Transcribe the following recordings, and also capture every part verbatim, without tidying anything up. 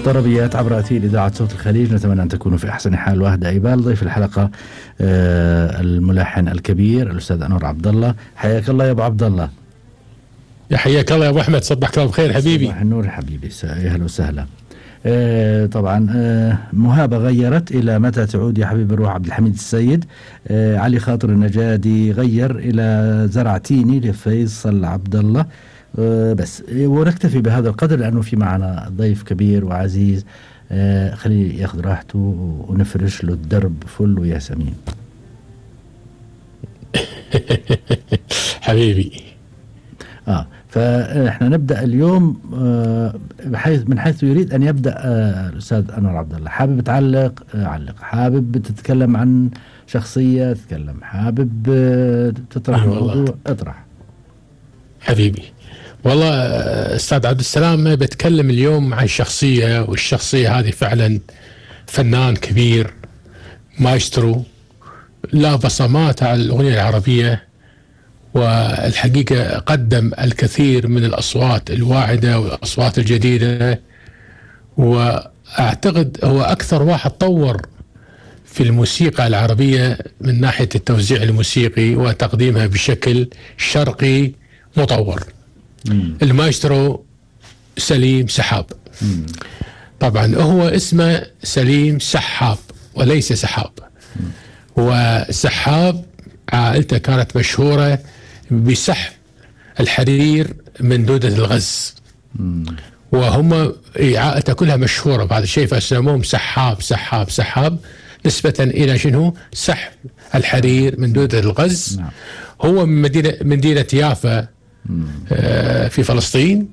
طربيات عبر أثير إذاعة صوت الخليج. نتمنى أن تكونوا في أحسن حال. وهدى أيبال ضيف الحلقة آه الملحن الكبير الأستاذ أنور عبد الله. حياك الله يا أبو عبد الله. يا حياك الله يا أبو أحمد، صبحك الله بخير حبيبي. صباح النور حبيبي، يا هلا وسهلا. آه طبعا آه مهابة غيرت إلى متى تعود يا حبيب الروح عبد الحميد السيد. آه علي خاطر النجادي غير إلى زرعتيني لفيصل عبد الله. آه بس ونكتفي بهذا القدر لأنه في معنا ضيف كبير وعزيز. آه خليه ياخذ راحته ونفرش له الدرب فل وياسمين. حبيبي. آه فاحنا نبدا اليوم آه بحيث من حيث يريد ان يبدا آه الاستاذ انور عبد الله. حابب تعلق آه علق، حابب تتكلم عن شخصيه تتكلم، حابب آه تطرح موضوع اطرح حبيبي. والله استاذ عبد السلام بتكلم اليوم عن شخصيه، والشخصيه هذه فعلا فنان كبير مايسترو، لا بصمات على الاغنيه العربيه، والحقيقة قدم الكثير من الأصوات الواعدة والأصوات الجديدة، وأعتقد هو أكثر واحد طور في الموسيقى العربية من ناحية التوزيع الموسيقي وتقديمها بشكل شرقي مطور. مم. المايسترو سليم سحاب. مم. طبعا هو اسمه سليم سحاب وليس سحاب. مم. وسحاب عائلته كانت مشهورة بسحب الحرير من دودة الغز. مم. وهم عائلته كلها مشهورة بهذا الشيء، فسموهم سحاب سحاب سحاب نسبة إلى شنو؟ سحب الحرير من دودة الغز. نعم. هو من مدينة مدينة يافا آه في فلسطين.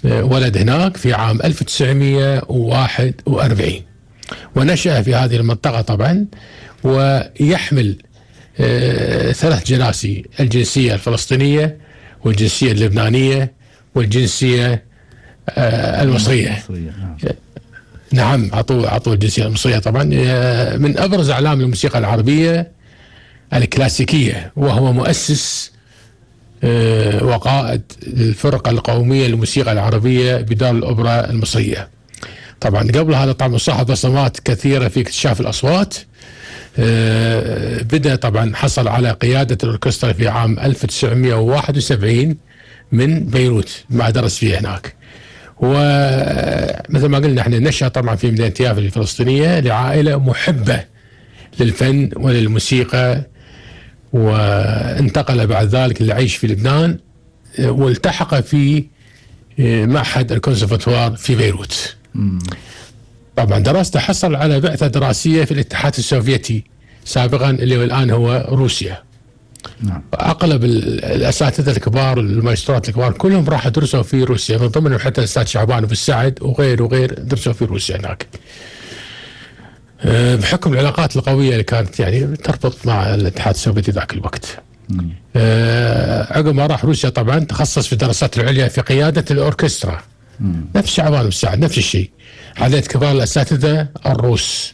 آه ولد هناك في عام ألف وتسعمئة وواحد وأربعين، ونشأ في هذه المنطقة طبعا، ويحمل آه ثلاث جناسي: الجنسية الفلسطينية والجنسية اللبنانية والجنسية آه المصرية. نعم, نعم عطوا عطوا الجنسية المصرية طبعا. آه من أبرز أعلام الموسيقى العربية الكلاسيكية، وهو مؤسس آه وقائد الفرقة القومية للموسيقى العربية بدار الأوبرا المصرية. طبعا قبل هذا طبعا صاحب بصمات كثيرة في اكتشاف الأصوات. آه بدأ طبعا حصل على قيادة الأوركسترا في عام ألف وتسعمئة وواحد وسبعين من بيروت، ما درس فيها هناك. ومثل ما قلنا احنا نشأ طبعا في مدينة يافا الفلسطينية لعائلة محبة للفن وللموسيقى، وانتقل بعد ذلك للعيش في لبنان، والتحق في معهد الكونسرفاتوار في بيروت. مم. طبعا دراسته حصل على بعثة دراسية في الاتحاد السوفيتي سابقا، اللي الآن هو روسيا. نعم. أغلب الأساتذة الكبار والماجسترات الكبار كلهم راحوا درسوا في روسيا، من ضمنهم حتى الأستاذ شعبان أبو السعد وغير وغير درسوا في روسيا هناك. بحكم العلاقات القوية اللي كانت يعني تربط مع الاتحاد السوفيتي ذاك الوقت. أه عقب ما راح روسيا طبعا تخصص في الدراسات العليا في قيادة الأوركسترا. مم. نفس شعبان أبو السعد نفس الشيء، عدد كبار الأساتذة الروس،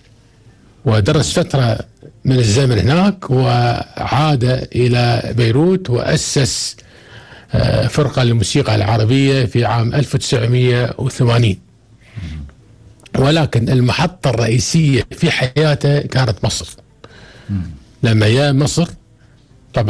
ودرس فترة من الزمن هناك، وعاد إلى بيروت وأسس أه فرقة للموسيقى العربية في عام ألف وتسعمئة وثمانين. ولكن المحطة الرئيسية في حياته كانت مصر. مم. لما جاء مصر